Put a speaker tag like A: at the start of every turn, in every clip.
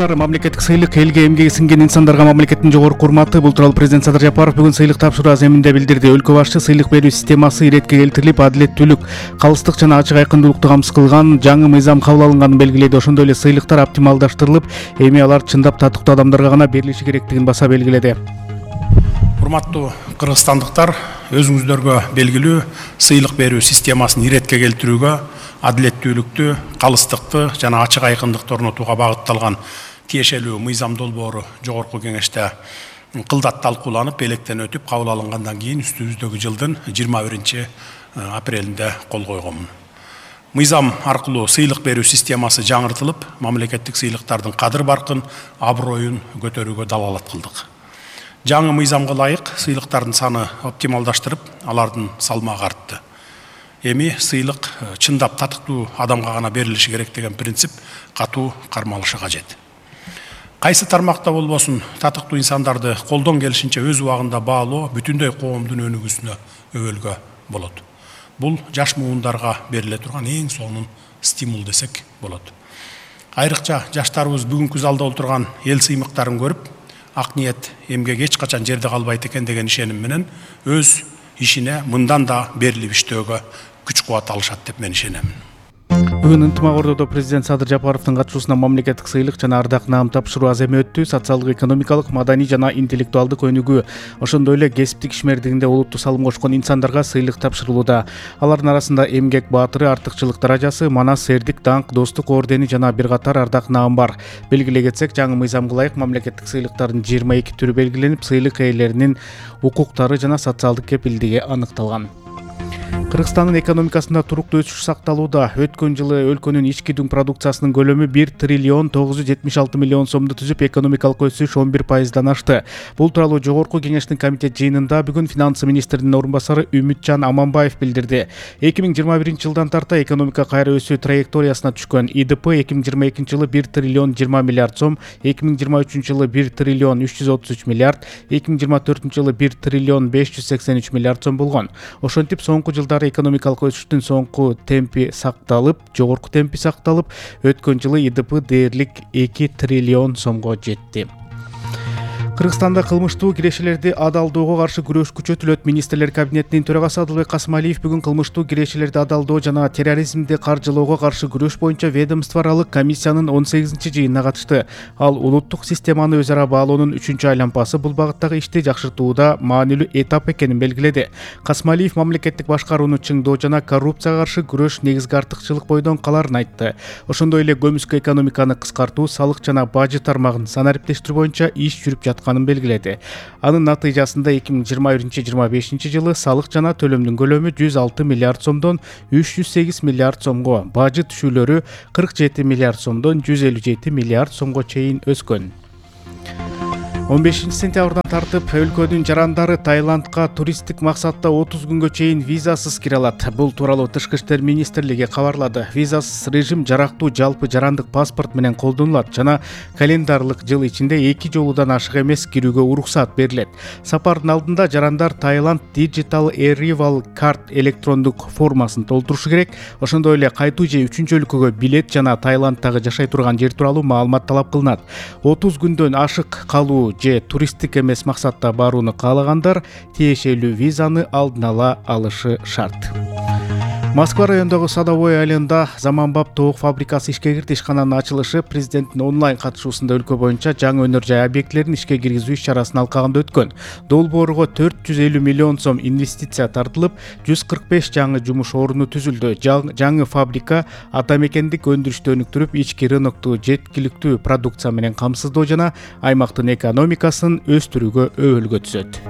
A: Мамлекеттик сыйлык элге эмгеги сиңген инсандарга мамлекеттин жогорку урматы. Бул тууралуу президент Садыр Жапаров бүгүн сыйлык тапшыруу аземинде билдирди. Өлкө башчы сыйлык берүү системасы иретке келтирилип, адилеттүүлүк, калыстык жана ачык айкындуулукту камсыз кылган жаңы мыйзам кабыл алынганын белгиледи. Ошондой эле сыйлыктар оптималдаштырылып, эми алар чындап татыктуу адамдарга гана берилиши керектигин баса белгиледи.
B: Урматтуу кыргызстандыктар, өзүңүздөргө белгилүү сыйлык берүү системасын иретке келтирүүгө, адилеттүүлүктү, калыстыкты жана ачык айкындыкты орнотууга багытталган тиешелүү мыйзам долбоору жогорку кеңеште кылдат талкууланып, электен өтүп кабыл алынгандан кийин үстүбүздөгү жылдын 21 апрелинде кол койгонмун. Мыйзам аркылуу сыйлык берүү системасы жаңыртылып, мамлекеттик сыйлыктардын кадыр баркын, аброюн көтөрүүгө далалат кылдык. Жаңы мыйзамга ылайык сыйлыктардын саны оптималдаштырып, алардын салмагы артты. Эми сыйлык чындап татыктуу адамга гана берилиши керек деген принцип катуу кармалышы кажет. Кайсы тармакта болбосун, татыктуу инсандарды колдон келишинче өз убагында баалоо бүтүндөй коомдун өнүгүүсүнө өбөлгө болот. Бул жаш муундарга бериле турган эң сонун стимул десек болот. Айрыкча жаштарыбыз бүгүнкү залда отурган эл сыймыктарын көрүп, ак ниет эмгек эч качан жерде калбайт экен деген ишеним менен өз ишине мындан да берилип иштөөгө күч кубат алышат деп мен ишенем.
A: Бүгүн ынтымак ордодо президент Садыр Жапаровдун катышуусунда мамлекеттик сыйлык жана ардак наам тапшыруу аземи өттү. Социалдык, экономикалык, маданий жана интеллектуалдык өнүгүү, ошондой эле кесиптик ишмердигинде олуттуу салым кошкон инсандарга сыйлык тапшырылууда. Алардын арасында эмгек баатыры, артыкчылык даражасы, манас, эрдик, даңк, достук ордени жана бир катар ардак наам бар. Белгилей кетсек, жаңы мыйзамга ылайык мамлекеттик сыйлыктардын 22 түрү белгиленип, сыйлык ээлеринин укуктары жана социалдык кепилдиги аныкталган. Кыргызстандын экономикасында туруктуу өсүш сакталууда. Өткөн жылы өлкөнүн ички дүң продукциясынын көлөмү 1 триллион 976 миллион сомду түзүп, экономикалык өсүш 11%дан ашты. Бул тууралуу жогорку кеңештин комитет жыйынында бүгүн финансы министринин орун басары Үмүтжан Аманбаев билдирди. 2021 жылдан тарта экономика кайра өсүү траекториясына түшкөн. ИДП 2022 жылы 1 триллион 20 миллиард сом, 2023 жылы 1 триллион 333 миллиард, 2024 жылы 1 триллион 583 миллиард сом болгон. Ошентип соңку жылдары экономикалык өсүштүн жогорку темпи сакталып, өткөн жылы ИДП дээрлик 2 триллион сомго жетти. Кыргызстанда кылмыштуу кирешелерди адалдоого каршы күрөш күчөтүлөт. Министрлер кабинетинин төрагасы Адылбек Касымалиев бүгүн кылмыштуу кирешелерди адалдоо жана терроризмди каржылоого каршы күрөш боюнча ведомство аралык комиссиянын 18-жыйынына катышты. Ал улуттук системаны өз ара баалоонун 3-айлампасы бул багыттагы ишти жакшыртууда маанилүү этап экенин белгиледи. Касымалиев мамлекеттик башкарууну чыңдоо жана коррупцияга каршы күрөш негизги артыкчылык бойдон каларын айтты. Ошондой эле көмүскө экономиканы кыскартуу, салык жана бажы тармагын санариптештирүү боюнча иш жүрүп жаткан белгиледи. Анын натыйжасында 2021-25 жылы салык жана төлөмдүн көлөмү 106 миллиард сомдон 308 миллиард сомго, бажы түшүүлөрү 47 миллиард сомдон 157 миллиард сомго чейин өскөн. 15 сентябрдан тартып өлкөнүн жарандары Таиландка туристтик максатта 30 күнгө чейин визасыз кире алат. Бул тууралуу Тышкы иштер министрлиги кабарлады. Визасыз режим жарактуу жалпы жарандык паспорт менен колдонулат жана календарлык жыл ичинде 2 жолудан ашык эмес кирүүгө уруксат берилет. Сапардын алдында жарандар Таиланд Digital Arrival Card электрондук формасын толтурушу керек. Ошондой эле кайтуу же үчүнчү өлкөгө билет жана Таиландтагы жашай турган жер тууралуу маалымат талап кылынат. 30 күндөн ашык калуу же туристтик эмес максатта барууну каалагандар тиешелүү визаны алдын ала алышы шарт. Москва районундагы Садовой айылында заманбап тоок фабрикасы ишке кирди. Ишкананын ачылышы президенттин онлайн катышуусунда өлкө боюнча жаңы өнөр жай объектилерин ишке киргизүү иш-чарасын алкагында өткөн. Долбоорго 450 миллион сом инвестиция тартылып, 145 жаңы жумуш оруну түзүлдү. Жаңы фабрика ата мекендик өндүрүштү өнүктүрүп, ички рынокту жеткиликтүү продукция менен камсыздоо жана аймактын экономикасын өстүрүүгө өбөлгө түзөт.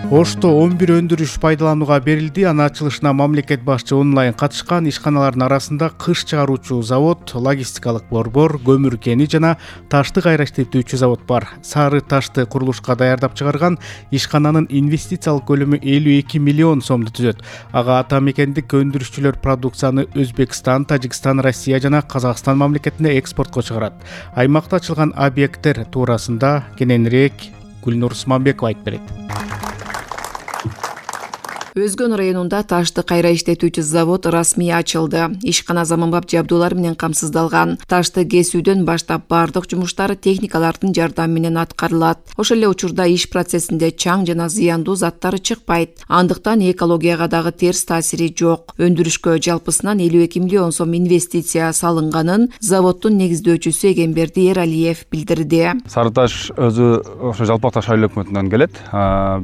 A: Ошто 11 өндүрүш пайдаланууга берилди. Анын ачылышына мамлекет башчы онлайн катышкан. Ишканалардын арасында кыш чыгаруучу завод, логистикалык борбор, көмүр кени жана ташты кайра иштетүүчү завод бар. Сары ташты курулушка даярдап чыгарган ишкананын инвестициялык көлөмү 52 миллион сомду түзөт. Ага ата мекендик өндүрүшчүлөр продукцияны Өзбекстан, Тажикстан, Россия жана Казакстан мамлекетине экспортко чыгарат. Аймакта ачылган объекттер туурасында кененирээк Гүлнур Усманбекова айтып берет.
C: Өзгөн районунда ташты кайра иштетүүчү завод расмий ачылды. Ишкана заманбап жабдуулар менен камсыздалган. Ташты кесүүдөн баштап бардык жумуштар техникалардын жардамы менен аткарылат. Ошол эле учурда иш процессинде чаң жана зыяндуу заттар чыкпайт. Андыктан экологияга дагы терс таасири жок. Өндүрүшкө жалпысынан 52 миллион сом инвестиция салынганын заводдун негиздөөчүсү Эгемберди Эралиев билдирди.
D: Сары таш өзү ошо Жалпак Таш айыл өкмөтүнөн келет.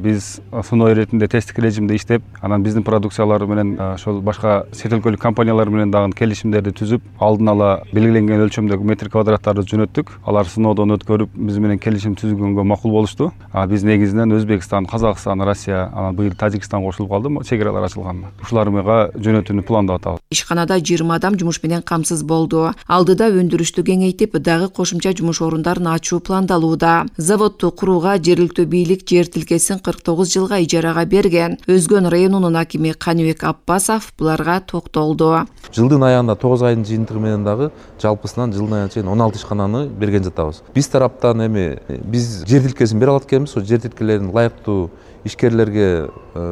D: Биз суноо иретинде тесттик режимде иштеп, анан биздин продукциялар менен ошол башка чет өлкөлүк компаниялар менен дагы келишимдерди түзүп, алдын ала белгиленген өлчөмдөгү метр квадраттарды жөнөттүк. Алар сыноодон өткөрүп, биз менен келишим түзүлгөнгө макул болушту. Биз негизинен Өзбекстан, Казакстан, Россия, анан быйыл Тажикстан кошулуп калды, чек аралар ачылган. Ушулар менен жөнөтүүнү пландап атабыз.
C: Ишканада 20 адам жумуш менен камсыз болду. Алдыда өндүрүштү кеңейтип, дагы кошумча жумуш орундарын ачуу пландалууда. Заводду курууга жергиликтүү бийлик жер тилкесин 49 жылга ижарага берген. Өзгөн районунун акими Каныбек Аппасов буларга токтолду.
E: Жылдын аягында 9 айдын жыйынтыгы менен дагы жалпысынан жылдын аягына чейин 16 ишкананы берген жатабыз. Биз тараптан биз жер тилкесин бере алат экенбиз. Жер тилкелерин лайыктуу ишкерлерге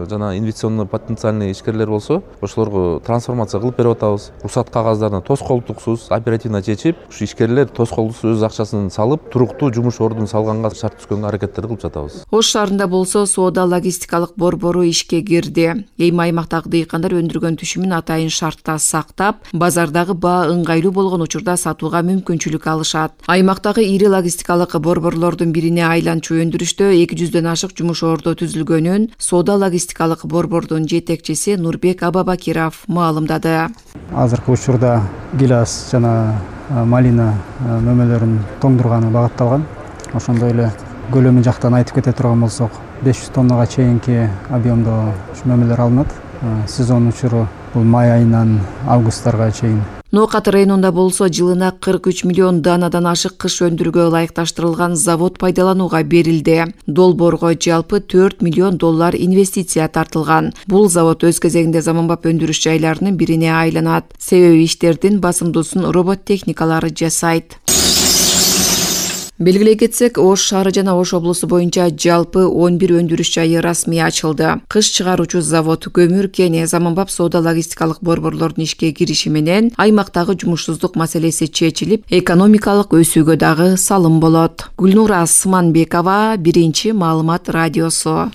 E: жана инвестиционный потенциальный ишкерлер болсо, ошолорго трансформация кылып берип атабыз. Уруксат кагаздарына тоскоолдуксуз оперативно чечип, ушу ишкерлер тоскоолдуксуз өз акчасын салып, туруктуу жумуш ордун салганга шарт түзгөнгө аракеттер кылып жатабыз.
C: Ош шаарында болсо соода логистикалык борбору ишке кирди. Эми аймактагы дыйкандар өндүргөн түшүмүн атайын шартта сактап, базардагы баа ыңгайлуу болгон учурда сатууга мүмкүнчүлүк алышат. Аймактагы ири логистикалык борборлордун бирине айланчу өндүрүштө 200дөн ашык жумуш орду түзүлгөнүн соода логистикалык борбордун жетекчиси Нурбек Абабакиров маалымдады.
F: Азыркы учурда гилас жана малина мөмөлөрүн тоңдурганы багытталган. Ошондой эле көлөмү жактан айтып кете турган болсок, 500 тоннага чейинки объемдо мөмөлөр алынат. Сезон учуру бул май айынан августарга чейин.
C: Ноокат районунда болсо жылына 43 миллион данадан ашык кыш өндүрүүгө ылайыкташтырылган завод пайдаланууга берилди. Долбоорго жалпы $4 миллион инвестиция тартылган. Бул завод өз кезегинде заманбап өндүрүш жайларынын бирине айланат. Себеби иштердин басымдуусун робот техникалары жасайт. Белгилей кетсек, Ош шаары жана Ош облусу боюнча жалпы 11 өндүрүш жайы расмий ачылды. Кыш чыгаруучу завод, көмүр кени, заманбап соода логистикалык борборлордун ишке кириши менен аймактагы жумушсуздук маселеси чечилип, экономикалык өсүүгө дагы салым болот. Гүлнура Сманбекова, Биринчи маалымат радиосу.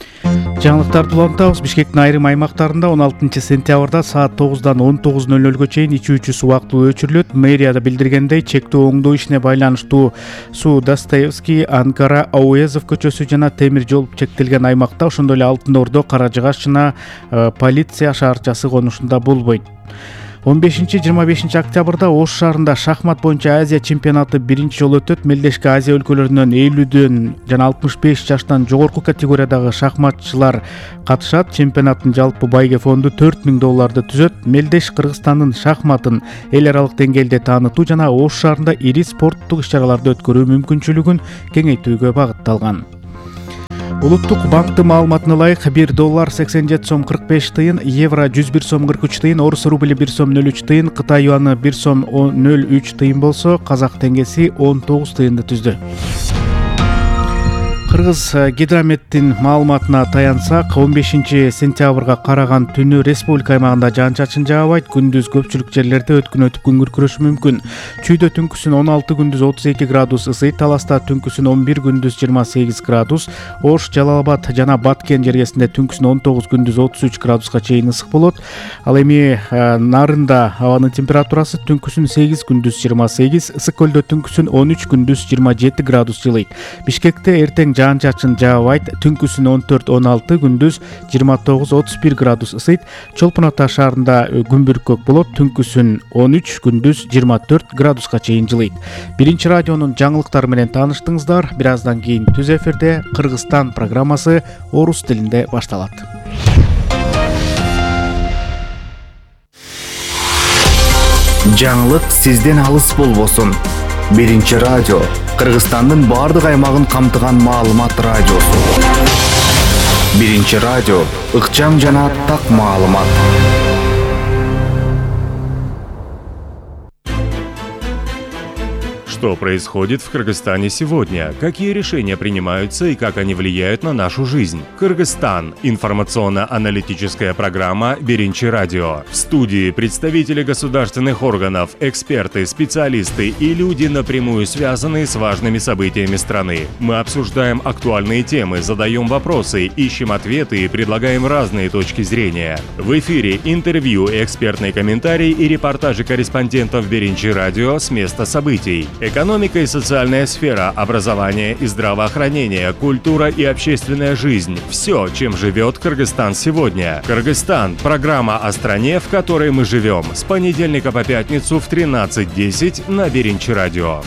A: Жаңылыктарды улантабыз. Бишкектин айрым аймактарында 16 сентябрда саат 9-дан 19:00 чейин ичүүчү суу убактылуу өчүрүлөт. Мэрияда билдиргендей, чектөө оңдоо ишине байланыштуу суу Достоевский, Анкара, Ауезов көчөсү жана темир жол чектелген аймакта, ошондой эле Алтын Ордо, Кара Жыгаш жана полиция шаарчасы конушунда болбойт. 15-25 октябрда Ош шаарында шахмат боюнча Азия чемпионаты биринчи жолу өтөт. Мелдешки Азия өлкөлөрүнөн 50дөн жана 65 жаштан жогорку категориядагы шахматчылар катышат. Чемпионаттын жалпы байге фонду $4000 түзөт. Мелдеш Кыргызстандын шахматын эл аралык деңгээлде таанытуу жана Ош шаарында ири спорттук иш-чараларды өткөрүү мүмкүнчүлүгүн кеңейтүүгө багытталган. Улуттук банктын маалыматына ылайык $1.87.45, евро $101.43, орус рубли $1.03, Кытай юаны $1.03 болсо, казак теңгеси 19 тыйынды түздү. Кыргыз гидрометтин маалыматына таянсак, 15 сентябрга караган түнү республика аймагында жаан-чачын жаабайт. Күндүз көпчүлүк жерлерде өткүнөтүп күн күркүрөшү мүмкүн. Чүйдө түнкүсүн 16, күндүз 32 градус ысыйт. Таласта түнкүсүн 11, күндүз 28 градус. Ош, Жалалабад жана Баткен жергесинде түнкүсүн 19, күндүз 33 градуска чейин ысык болот. Ал эми Нарында абанын температурасы түнкүсүн 8, күндүз 28, Ысык көлдө түнкүсүн 13, күндүз 27 градус жылыйт. Бишкекте эртең жаан-чачын жаабайт. Түнкүсүн 14-16, күндүз 29-31 градус ысыйт. Чолпон Ата шаарында күн бүркөк болот. Түнкүсүн 13, күндүз 24 градуска чейин жылыйт. Биринчи радионун жаңылыктары менен тааныштыңыздар. Бир аздан кийин түз эфирде Кыргызстан программасы орус тилинде башталат.
G: Жаңылык сизден алыс болбосун. Биринчи радио Кыргызстандын бардык аймагын камтыган маалымат радиосу. Биринчи радио ыкчам жана так маалымат.
H: Что происходит в Кыргызстане сегодня? Какие решения принимаются и как они влияют на нашу жизнь? Кыргызстан. Информационно-аналитическая программа «Биринчи радио». В студии представители государственных органов, эксперты, специалисты и люди, напрямую связанные с важными событиями страны. Мы обсуждаем актуальные темы, задаем вопросы, ищем ответы и предлагаем разные точки зрения. В эфире интервью, экспертные комментарии и репортажи корреспондентов «Биринчи радио» с места событий. Экономика и социальная сфера, образование и здравоохранение, культура и общественная жизнь. Все, чем живет Кыргызстан сегодня. Кыргызстан – программа о стране, в которой мы живем. С понедельника по пятницу в 13:10 на Биринчи радио.